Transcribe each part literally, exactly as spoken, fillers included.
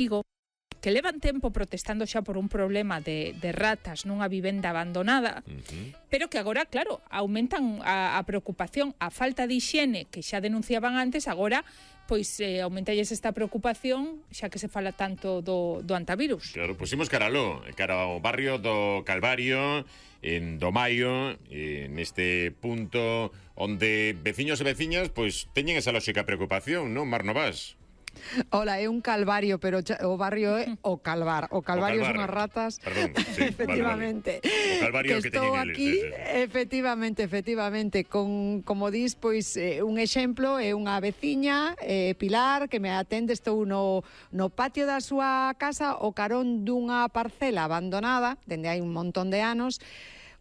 Vigo, que levan tempo protestando xa por un problema de, de ratas nunha vivenda abandonada, uh-huh. pero que agora, claro, aumentan a, a preocupación, a falta de hixiene que xa denunciaban antes, agora pois eh, aumentalles esta preocupación xa que se fala tanto do, do antivirus. Claro, pusimos caraló, cara ao barrio do Calvario, en do Maio, neste punto onde veciños e veciñas pois teñen esa lógica preocupación, non, Mar Novas? Hola, é un calvario, pero o barrio é o Calvar. O Calvario son as ratas. Perdón, sí, efectivamente. Vale, vale. O Calvario que, que estou teñen aquí, eles, sí, sí. efectivamente, efectivamente, con, como dis, pois, eh, un exemplo, é unha veciña, eh, Pilar, que me atende, estou no, no patio da súa casa, o carón dunha parcela abandonada, dende hai un montón de anos,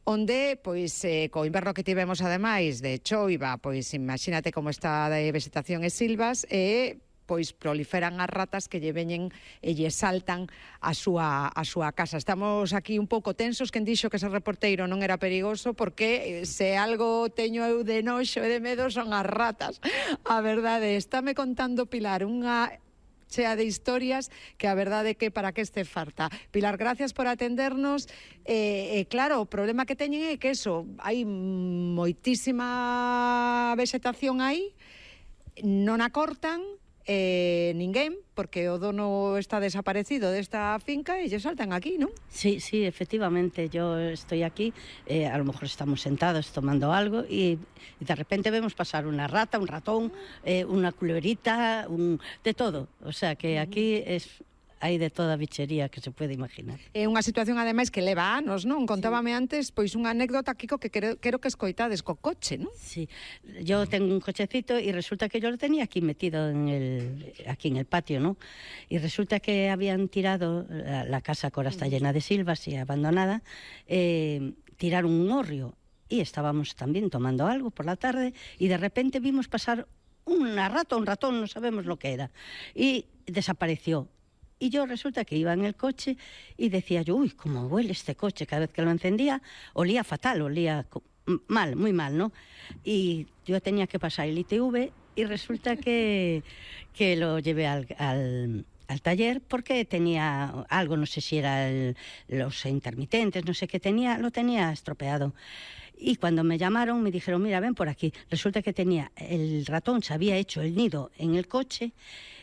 onde, pois, eh, co inverno que tivemos, ademais, de choiva, pois, imagínate como está de vegetación e silvas, e... Eh, pois proliferan as ratas que lle veñen e lle saltan a súa, a súa casa. Estamos aquí un pouco tensos, quen dixo que ese reporteiro non era perigoso, porque se algo teño eu de noxo e de medo son as ratas. A verdade, estáme contando Pilar unha chea de historias que a verdade é que para que este farta. Pilar, gracias por atendernos. E, eh, claro, o problema que teñen é que eso, hai moitísima vegetación aí, non a cortan, Eh, ninguén, porque o dono está desaparecido desta finca e lle saltan aquí, non? Sí, sí, efectivamente, yo estoy aquí, eh, a lo mejor estamos sentados tomando algo y, y de repente vemos pasar una rata, un ratón, eh, una culebrita, un, de todo, o sea que aquí es... hai de toda a bichería que se pode imaginar. É unha situación, ademais, que leva anos, non? Contábame sí. antes, pois, unha anécdota, Kiko, que quero, quero que escoitades co coche, non? Sí, yo tengo un cochecito y resulta que yo lo tenía aquí metido en el, aquí en el patio, ¿no? Y resulta que habían tirado, la, la casa que ahora está llena de silvas y abandonada, eh, tiraron un hórreo y estábamos también tomando algo por la tarde y de repente vimos pasar una rata, un ratón, no sabemos lo que era, y desapareció. Y yo resulta que iba en el coche y decía yo, uy, cómo huele este coche. Cada vez que lo encendía, olía fatal, olía mal, muy mal, ¿no? Y yo tenía que pasar el I T V y resulta que, que lo llevé al, al, al taller porque tenía algo, no sé si era el, los intermitentes, no sé qué tenía, lo tenía estropeado. Y cuando me llamaron me dijeron, mira, ven por aquí. Resulta que tenía, el ratón se había hecho el nido en el coche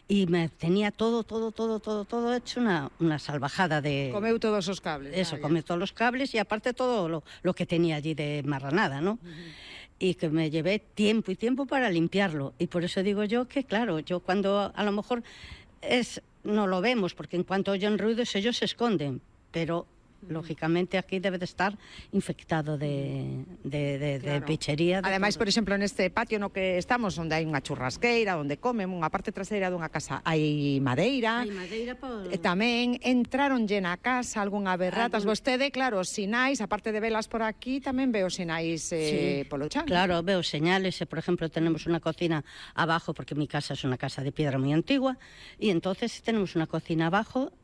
y me tenía todo, todo, todo, todo, todo hecho una, una salvajada de... Comeu todos os cables. Eso, ah, comeu todos los cables y aparte todo lo, lo que tenía allí de marranada, ¿no? Uh-huh. Y que me llevé tiempo y tiempo para limpiarlo. Y por eso digo yo que, claro, yo cuando a lo mejor es no lo vemos, porque en cuanto oyen ruidos ellos se esconden, pero... lógicamente aquí debe de estar infectado de, de, de, claro. de pichería. De Ademais, todo. por exemplo, neste patio no que estamos, onde hai unha churrasqueira, onde comen, unha parte traseira dunha casa, hai madeira. Hai madeira por... E tamén entraron llena a casa algunha vez ratas. Algún... Vostede, claro, sinais, aparte de velas por aquí, tamén veo sinais eh, sí. polo chan. Claro, veo señales. Por ejemplo, tenemos una cocina abajo, porque mi casa es una casa de piedra muy antigua, y entonces tenemos una cocina abajo.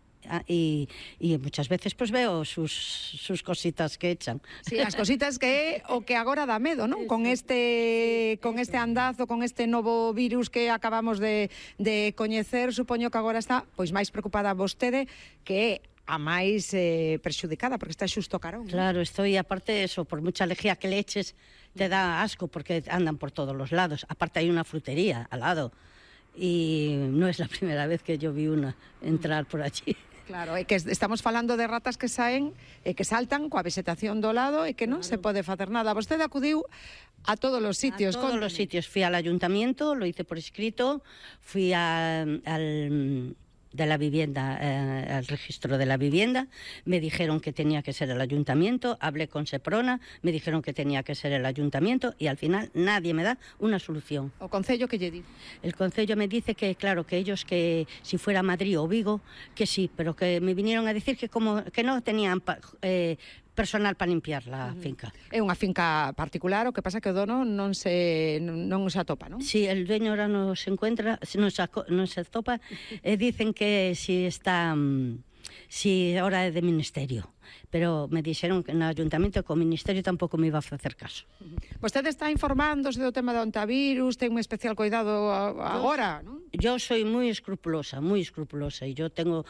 Y, y muchas veces pues veo sus, sus cositas que echan. Sí, as cositas que é o que agora dá medo, non? Con este con este andazo, con este novo virus que acabamos de, de coñecer, supoño que agora está pois máis preocupada vostede, que é a máis eh, perxudicada, porque está xusto carón. Claro, estoy, aparte de eso, por mucha lejía que le eches, te da asco, porque andan por todos los lados. Aparte hay una frutería al lado, y no es la primera vez que yo vi una entrar por allí. Claro, é que estamos falando de ratas que saen e que saltan coa vegetación do lado e que non claro. se pode facer nada. Vostede acudiu a todos os sitios. A todos Contame. los sitios. Fui al ayuntamiento, lo hice por escrito, fui a, al... de la vivienda, eh, al registro de la vivienda, me dijeron que tenía que ser el ayuntamiento, hablé con Seprona, me dijeron que tenía que ser el ayuntamiento y al final nadie me da una solución. ¿O concello que lle di? El concello me dice que, claro, que ellos, que si fuera Madrid o Vigo, que sí, pero que me vinieron a decir que como que no tenían eh, personal para limpiar la uh-huh. finca. É unha finca particular, o que pasa que o dono non se non se atopa, non? Sí, el dueño ahora no se encuentra, no se, no se atopa, eh, dicen que si está, si ahora é de ministerio, pero me dixeron que no ayuntamiento que o ministerio tampouco me iba a facer caso. Uh-huh. Vostede está informándose do tema do antivirus, ten un especial cuidado agora, non? Yo soy muy escrupulosa, muy escrupulosa, y yo tengo